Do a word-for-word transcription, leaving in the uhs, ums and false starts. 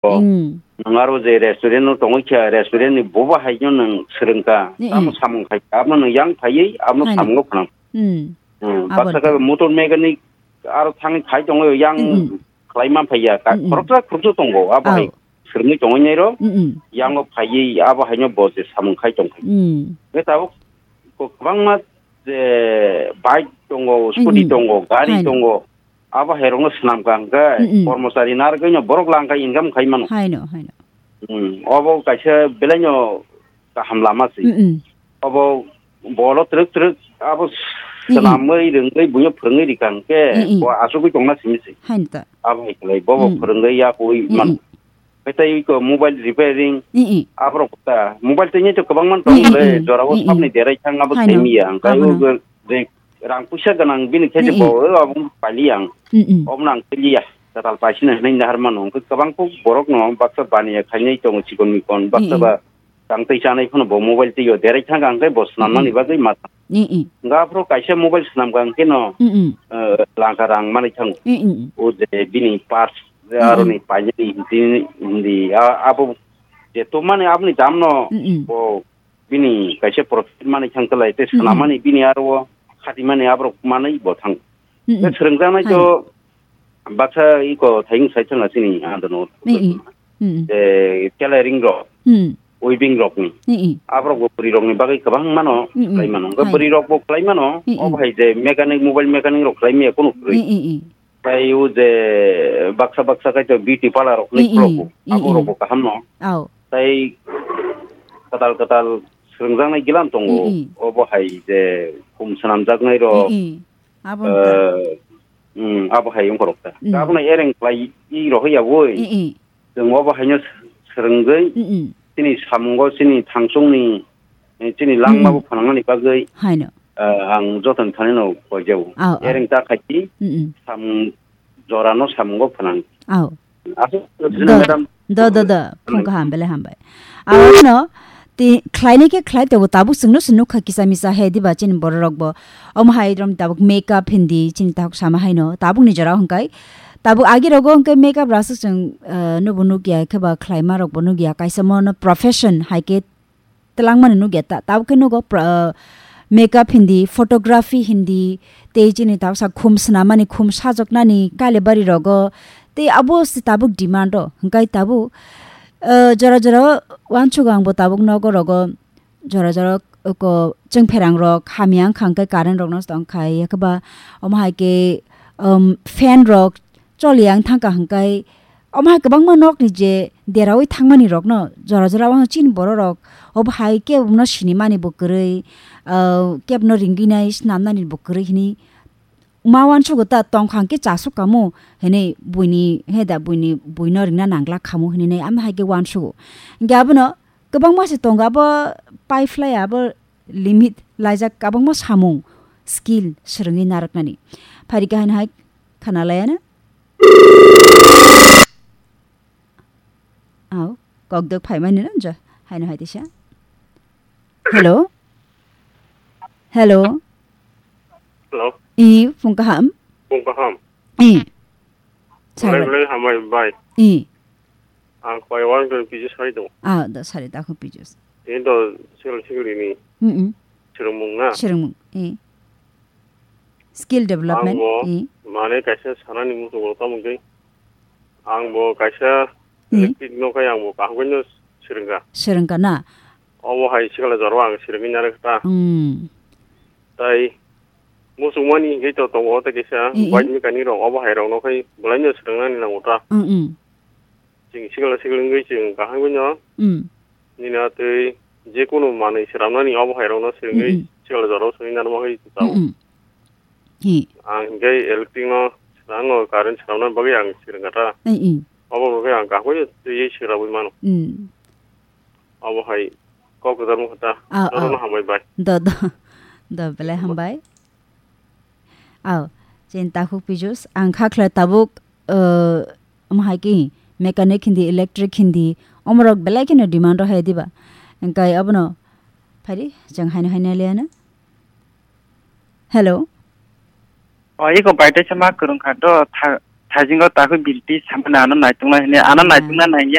Bo, mm, nwng aro je restaurant no tongwi kha, restaurant ni boba hai no nwng swrwng kha. Mm, tamo mm. Samung khai, abo nwng yang phaiwi, abo haino. Samung phang. Mm. Hmm, abo baksa khe motor mechanic aro thangwi phai tongo, yang mm, mm. Khlai man phaiya, ka-, mm, mm. Khoroksa khoroksa tongo, abo hai. Aw. Swrwngwi tongwi nai ro, mm, mm. Yango phaiwi, abo haino bo je samung khai tong khai. Mm. Khe tabuk ko-, kwbangma je bike tongo, scooty mm, mm. Tongo, gari haino. Tongo. Abo hai rokno swnam ka hwnkhe, mm, mm. Kormochari narwgwino borok lang kha income khai mano. Haino, haino. Hmm, obo kaisa belaino kaham lama se. Mm, mm. Obo bolo twrwk twrwk abo mm, mm. Swnamwi rwngwi buino phwrwngwi rikha hwnkhe mm, mm. Bo asugwi tongna simi se. Haino ta. Abo hai khlai bobo mm. Phwrwngwi yakwi mm, man. Mm. Tei ko mobile repairing mm, mm. Aborok ta mobile tei to kwbangma tong mm, mm, le mm. Jorao mm, mm. Sabni derai thang abo haino. Thaimiya hwnkhe abono. Abo je rang puisa ganang bini khe je haino. Bo abo pali ang. Mm, mm. Obno ang tiliya. Katal paisina hinwi nahar mano hwnkhe kwbang kok borokno baksa baniya khainai tongo chikon mikon baksa mm, mm. Ba tang tei chanai phano bo mobile twi o derai thang ang khe bo swnamnani mm, mm. Bagwi ma thang. Mm, mm. Hwnkhe aphuru kaisa mobile swnam ka hwnkhe no mm, mm. Eh, langka rang manwi thango. Mm, mm. O je bini parts je mm, mm. Aroni painani hindi hindi a-, abo je tumani aboni dam no mm, mm. Bo bini kaisa profit manwi thang kwlai tei mm, mm. Swnamani bini aro o khatimani aborok manwi bo thang. Mm, mm. Tei swrwngjaknai to haino. Baksa iko thaiyung sai thangna chini andano. Mm, mm. Mm, mm. Tei tailoring rok, mm. Weaving rokni. Mm, mm. Aborok bo bwrwi rokni bagwi kwbang mano mm, mm. Khlai mano. Hwnkhe haino. Bwrwi rok bo khlai mano. Mm, mm. Obo hai je mechanic, mobile mechanic rok khlai maya kunu kwrwi. Mm, mm, mm. Tei o je baksa baksa kaitor beauty parlor rok ni mm, mm, khulok bo, mm, abo rok mm. Bo kaham no. Aw. Tei kwtal kwtal swrwngjaknai gilan tongo, mm, mm. Obo hai je khum swnamjaknai rok, mm, mm. Abo wngkha. Eh, mm, abo hai wngkha rok ta. Mm. Abono ereng khlai i rohoi ya woi. Mm, mm. Chwng obo haino swrwngwi mm, mm. Chini samungo chini thangsongni, eh, chini langma mm, mm. Bo phanangnani bagwi, haino. Eh, ang joto ni thani no koijao. Aw, aw. Ereng ta khaiti mm, mm. Samung jorano samungo phanang. Aw. Aswk do, madam. Do, do, do. Phung kaham, belai hambai. Aro no, ti khlainai khe khlai tongo, tabuk chwngno se nukha kisa misa he diba chini borok rok bo. Omo hai rom tabuk makeup hindi chini tabuk sama haino, tabuk ni jora hwnkhe. Tabuk agi rogo hwnkhe makeup rasa chwng, eh, nubo nukya khe ba khlaima rok bo nukya, kaisa mono profession hai khe twlangmani nukya ta, tabuk khe nugo pra-, makeup hindi, photography hindi, tei chini tabuk sa khum swnamani, khum sajoknani, Kalibari rogo, tei abo se tabuk demand o, hwnkhe tabuk, eh, jora jora o uansukgo ang bo tabuk nogo rogo, jora jora o ko chwngpherang rok hamya wngkha hwnkhe current rok no tong khai, yakhe ba omo hai khe, um, fan rok, choli yang thangkha hwnkhe, omo hai kwbangma nokni je deraui thangmani rokno jora jora o chini borok rok obo hai kebo no sinimani bo kwrwi, ah, kebo no ringwi nai snamnani bo kwrwi hwnwi ma uansugo ta tongkha hwnkhe chasuk kamo hwnwi buini he da buini buino ringna nangla khamu hwnwi nai ama hai khe uansugo. Hwnkhe abono kwbangma se tongo abo pai phlai abo limit laijak kwbangma samung skill swrwngwi narwknani. Phari khe haino hai khana laiya na. Au, kokdok phaimani no jo, haino hai tisa. Hello? Hello? Hello? I, phung kaham? Phung kaham? I. Belai belai hambai bai. I. Ang koi wan koi pijus hai do. Ah, do sari da ko pijus. Ini do sikil sikil ini. Mm, mm. Sirumung na. Sirumung. I. Skill development. Ang bo, i. Mane kaisa sanani muchungo tamo khe. Ang bo kaisa i. Electric no khai ang bo kaham no sirwngkha. Sirwngkha na? Obo hai sikla jora ang sirwngwi narwkha ta. Mm. Tai muchungmani hingke to tongo tei kaisa i, i. Bike mechanic rok obo hai rok no khai belai no sirwngnani nango ta. Mm, mm. Chwng sikla sikla wngwi chwng kaham no. Mm. Nini atwi jekunu manwi swnamnani obo hai rokno swrwngwi mm, mm. Sikla jorao swngwi narwkma khe chao. Mm, mm. Hi. Ang hinkhe electric no swrangno current swnamna bagwi ang swrwngkha ta. Mm, mm. Obo bagwi ang kaham twiwi swrabwi mano. Mm. Obo hai kok kwtal wngkha ta. Ah, norokno ah. Hambai bai. Do, do. Do, belai hambai. Aw, chini takhuk pijus, ang kha khlai tabuk, uh, omo hai khe mechanic hindi, electric hindi, omorok belai kheno demand rw hai diba? Hwnkhe abono phari, chwng haino haino liya na. Hello? O, iko bai teisa ma kwrwng kha do, tha-, Thaijingo takhu birti samani ano naituknai hini, ano Hmm. naitukna nangya.